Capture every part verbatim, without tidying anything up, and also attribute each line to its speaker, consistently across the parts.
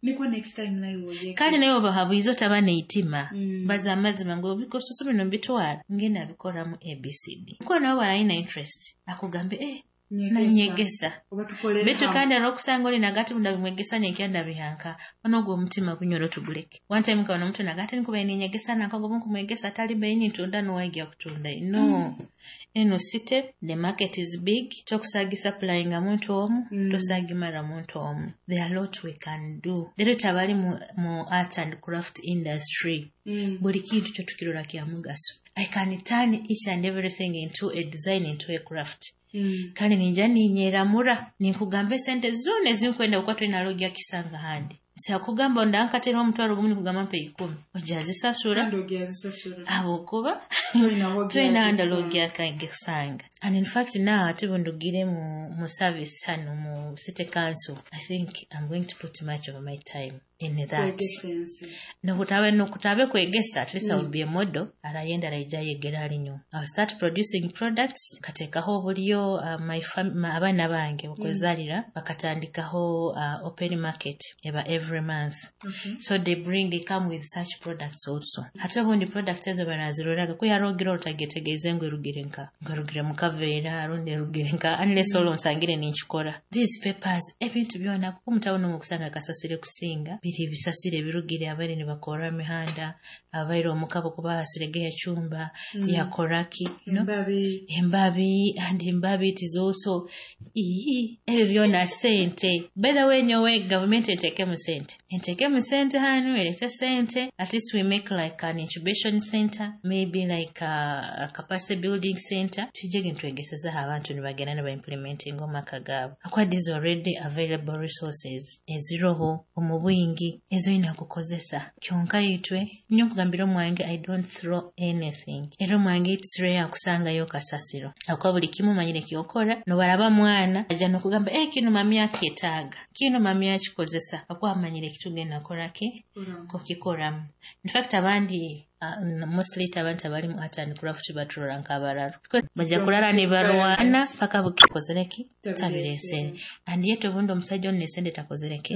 Speaker 1: Nikwo next time nawe oyege.
Speaker 2: Kandi nawe obahabwize otaba neitima.
Speaker 1: Mm.
Speaker 2: Baza amazima ngu ebisusu bino mbitwara, ngenda bikoramu A B C D. Kuba nawe barayina interest, akugambe, eh, nanyegesa.
Speaker 1: Oba tukolere
Speaker 2: Baitu
Speaker 1: hamwe.
Speaker 2: Kandi olwokusanga oli nagati ndabimwegesa nenkya ndabihanka ono ogwo omutima gunyoro tuguleke. One time nkabona omuntu nagati nkubaire ninyegesa nanka ngobu nkumwegesa atali beini ntunda nuwaigya kutunda no mm. Eno city, the market is big, tokusagi supplyinga muntu omu.
Speaker 1: Mm.
Speaker 2: Tosagimara muntu omu. There are lot we can do. Leero tabali mu, mu art and craft industry.
Speaker 1: Mm.
Speaker 2: Buli kintu kyo tukirora kya mugaso. I can turn each and everything into a design, into a craft.
Speaker 1: Mm.
Speaker 2: Kandi ninja ninyeramura ninkugamba esente zona ezinkwenda kuba twinalogya kisanga handi sakugamba ndankatera omutwaro gumu, nikugamba mpe ikumi, ojja zisasura.
Speaker 1: Kandi ogyazisasura.
Speaker 2: Habwokuba
Speaker 1: Toyina
Speaker 2: twina
Speaker 1: w'ogyazisanga.
Speaker 2: Ndalogyakasanga. And in fact now ate bwendugire mu, mu service hano mu city council, I think I'm going to put much of my time in that.
Speaker 1: Kwegesa ensi.
Speaker 2: Nokutabe nokutabe kwegesa, at least mm. I will
Speaker 1: Mm.
Speaker 2: be a model arayenda araija yegera alinyo. I'll start producing products, kateekaho obulyo uh, my fam ma, abaana bange okwezaalira mm. bakatandikaho uh, open market eba every month.
Speaker 1: Okay.
Speaker 2: So they bring they come with such products also. Ate obundi products ezo baraziroraga kuyarogira otagetegeeze ngu erugire nka ngu erugire mu kaveera rundi erugire nka, unless olwo nsangire ninkikora. These papers, ebintu byona, kuko mutawuni okusanga kasasire kusinga biri ebisasire ebirugire abaire nibakora emihanda, abaire omukabo kuba hasirege yachumba
Speaker 1: Mm.
Speaker 2: yakoraki you know?
Speaker 1: Embabi.
Speaker 2: Embabi, and embabi it is also ii ebyo byona sente. By the way, nyowe government enteekemu sente, enteekemu sente hanu, erete sente. At least we make like an incubation center, maybe like a, a capacity building center, tujege nitwegesezaho abantu nibagenda nibaimplementinga omu maka gaabo, akuba these already available resources eziroho omu bwingi ezoyina kukozesa. Kyonka itwe nyo nkugambira omwange, I don't throw anything, era omwange it's rare kusangayo kasasiro, akuba buli kimu manyire kyokora. Nobaraba mwana aja nokugamba, eh, kino mami akyetaaga, kino mami akikozesa, akuba amanyire kitugenda koraki kukikoramu. In fact abandi uh, mostly abantu abali mu art and craft baturora nk'abararo because bajja kulala ne balwana paka bukikozereki tabiresere, and yet obundi omusajja ono nesente takozereki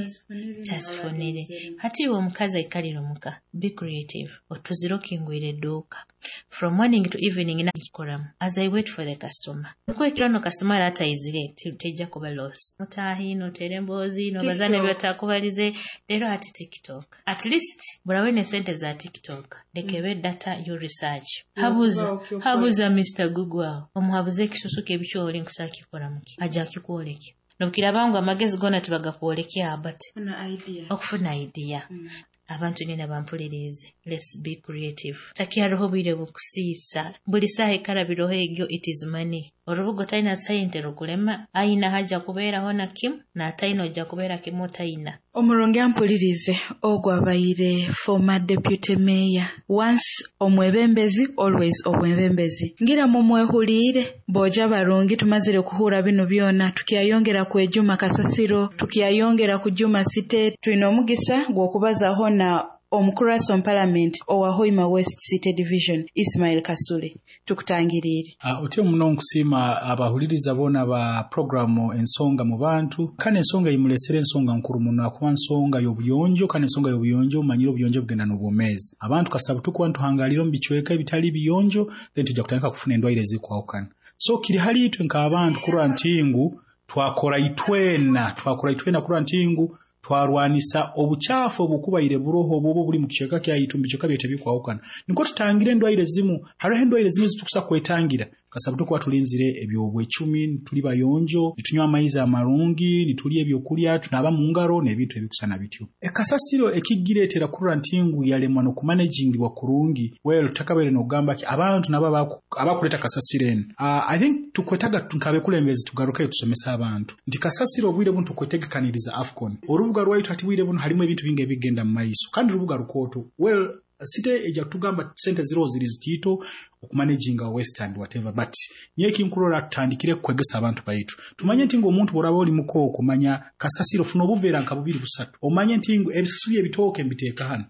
Speaker 2: tazifunire. Hati iwe omukazi aikalire omuka, be creative, otuzire okingwire edduuka from morning to evening nakikoramu as I wait for the customer. Nkwekiro no customer ataizire tejja kuba loss. Mutahi notere emboozi nobaza nebyotakubalize. Leero ati TikTok, at least burawe sente za TikTok, lekebe data yo research, habuza habuza Mister Google awo omuhabuze ekisusu kebikyoli nkusakikoramuki ajja kikwoleke nobukiraba ngu amagezi gona tibagakwolekya, but okufuna idea mm. Abantu nina bampulirize, let's be creative. Takyariho bwire bukusiisa, buli saaha ekarabiroho egyo it is money. Orubuga otalina sente rukulema ayina hajja kubeeraho na kimu n'atayina ojja kubeera kimu otayina.
Speaker 1: Omurungi ampulirize, ogwo abaire former deputy mayor, once omwebembezi, always omwebembezi. Ngira mumwehuliire boja barungi. Tumazire kuhura bino byona, tukyayongera kwejuma kasasiro, tukyayongera kujuma site. Twine omugisa gw'okubazaho na omukurasi omu parliament owa Hoima West City Division, Ismail Kasule. Tukutangiriire.
Speaker 3: Uh, otyo muno nkusiima abahuliriza boona ba programu Ensonga mu Bantu. Kandi ensonga imulesere ensonga nkuru muno akuba nsonga y'obuyonjo, kandi ensonga y'obuyonjo, manyire obuyonjo bugenda n'obwomeezi. Abantu kasaba tukuba ntuhangalira omu bicweka ebitali biyonjo, then tujja kutandika kufuna endwaire ezikwawukana. So kiri hali itwe nk'abantu kurora nti ngu twakora itwena twakora itwena kurora nti ngu twarwanisa obuchafu obukubaire buroho obubo buli mu kicweka kyaitu, mu bicweka byaitu ebikwawukana, niko tutangire endwaire zimu. Hariho endwaire zimu zitukusa kwetangira kasabu tukuba tulinzire ebyobwecumi, tuli bayonjo, nitunywa amaizi amarungi, nitulya ebyokulya, tunaba mu ngaro n'ebintu ebikusana bityo. Ekasasiro ekigireetera kurora nti ngu yalemwa n'okumanagingibwa kurungi, well, takabaire n'okugamba ki abantu nabo abakuleeta kasasiro eno. uh, i think tukwetaga nkabekulembezi tugarukeyo tusomesa abantu nti kasasiro obwire bunu tukwetegekaniriza AFCON. Orubuga rwaitu hati bwire bunu halimu ebintu bingi ebigenda mu maiso, kandi rubuga rukooto. Well, site ejja kutugamba sente ziriho ziri zitiito okumanaginga waste and whatever, but nyewe kinkurora tutandikire kwegesa abantu baitu, tumanye nti ng'omuntu bw'oraba oli mukooko, manya kasasiro, funa obuveera nka bubiri busatu, omanye nti ngu ebisusu by'ebitooke mbiteeka hano.